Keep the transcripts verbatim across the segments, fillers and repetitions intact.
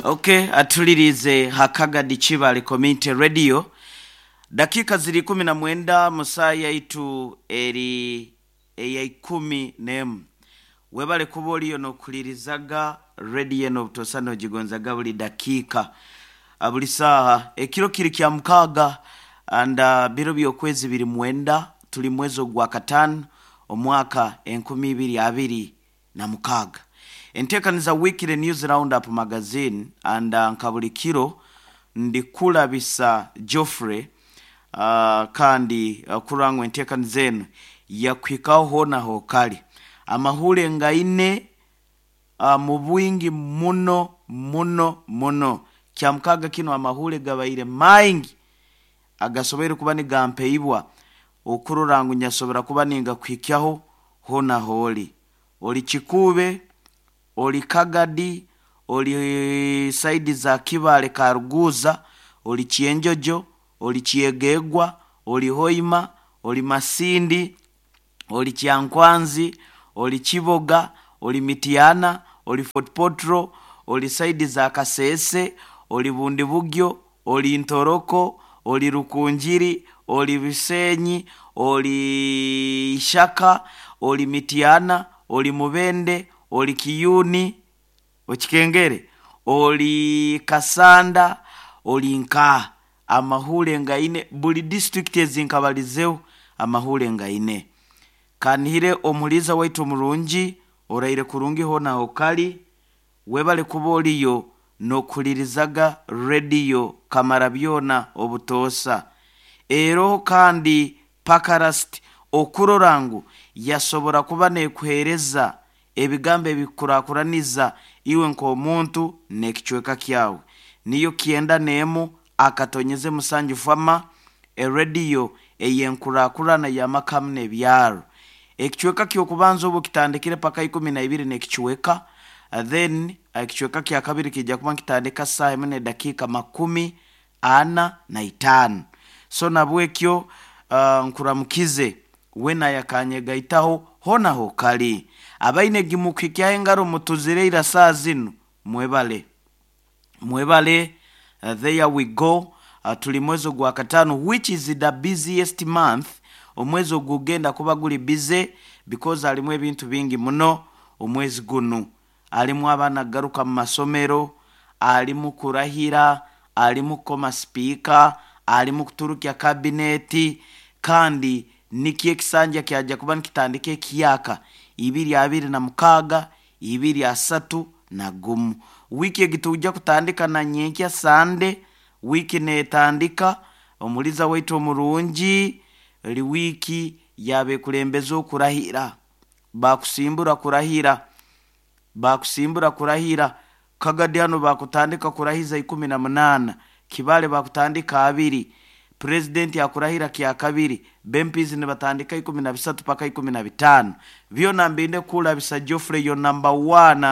Okay, atulirize Hakagadi Kibale Community Radio. Dakika ziri ikumi na mwenda musaa yaitu eri eya ikumi n'emu. Webale kuba oliyo n'okulirizaga rediyo eno obutosa n'ogigonzaga buli dakiika, ah, buli saaha. Ekiro kiri kya mukaaga and uh, biro by'okwezi biri mwenda, tuli mwezi ogwa kataano omwaka enkumi ibiri abiri na mukaaga. Enteekaniza Weekly News Roundup Magazine and uh, nka buli kiro ndikulabisa Geoffrey uh, kandi uh, kurangwa enteekaniza eno yakuhikaho hoona hokali amahule ngaine uh, mu bwingi muno muno muno. Kya mukaaga kino amahule gabaire maingi agasoboire kuba nigampeibwa okurora ngu nyasobora kuba ningakuhikyaho hoona hooli. Oli Kikuube, oli Kagadi, oli saidi za Kibale Karuguza, oli Kyenjojo, oli Kyegegwa, oli Hoima, oli Masindi, oli Kyankwanzi, oli Kiboga, oli Mityana, oli Fort Potro, oli saidi za Kasese, oli Bundibugyo, oli Ntoroko, oli Rukunjiri, oli Bisenyi, oli Ishaka, oli Mityana, oli Mubende, oli Kiyuni, okikengere, oli Kasanda, oli Nkaa. Amahule ngaine buli district ezinkabalizeho amahule ngaine. Kanihire omuliza waitu omurungi oraire kurungi hoona hokali. Webale kuba oliyo n'okulirizaga rediyo kamara byona obutoosa. Eroho kandi Pakarast okurora ngu yasobora kuba nekuheereza ebigambo ebikurakuraniza iwe nk'omuntu n'ekicweka kyawe. Niyo kyenda n'emu akatonyeze musanju fama, erediyo ey'enkurakurana y'amakamu n'ebyaro. Ekicweka ky'okubanza obu kitandikire paka ikumi na ibiri n'ekicweka, then ekicweka kya kabiri kijja kuba nkitandika saaha emu n'edakiika makumi ana na itaano. So nabwekyo uh, nkuramukize wena yakanyegaitaho hoona hokali. Abaine gimukuhikyaho engaro mutuzire ira saa zinu, mwebale mwebale. uh, there we go. uh, tuli mwezi ogwa kataano, which is the busiest month. Omwezi ogugenda kuba guli busy because alimu ebintu bingi muno. Omwezi gunu alimu abaana kugaruka mu masomero, alimu kurahira, alimu kukoma sipiika, alimu kuturukya kabineti, kandi nikyo ekisanja kyajja kuba nikitandika ekiyaka ibiri abiri na mukaaga ibiri asatu na gumu. Wiiki egi tujja kutandika na nyenkya Sande. Wiiki netandika omuliza waitu omurungi eri wiiki yabekulembeza okurahira, bakusimbura kurahira, bakusimbura kurahira. Kagadi hano bakutandika kurahiza ikumi na munaana, Kibale bakutandika abiri, purezidenti akurahira kya kabiri, bempizi nibatandika ikumi na bisatu paka ikumi na bitaano. Byona mbinde kulabisa Geoffrey, yo number one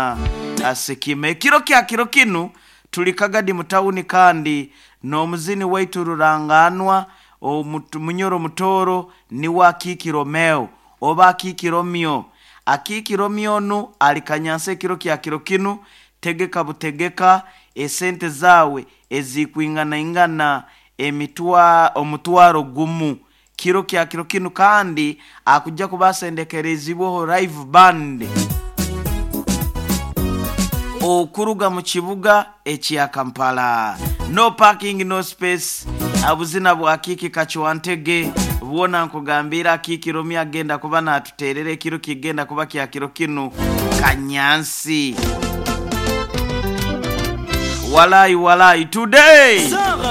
asikime. Ekiro kya kiro kinu tuli Kagadi mutawuni kandi n'omuzini waitu ruranganwa omutu- munyoro mutoro niwe Akiiki Romeo oba Akiiki Romeo. Akiiki Romeo nu ali Kanyansa ekiro kya kiro kinu. Tegeka butegeka esente zawe ezikwinganaingana emitwa omutwaro gumu kiro kya kiro kinu, kandi akujja kubasendekerezibweho live band okuruga mu kibuga ekya Kampala. No parking, no space. Abuzina bwa Akiiki Kacwantege bwona nkugambira Akiiki Romeo agenda kuba natuterera ekiro kigenda kuba kya kiro kinu Kanyansi. Walai walai today.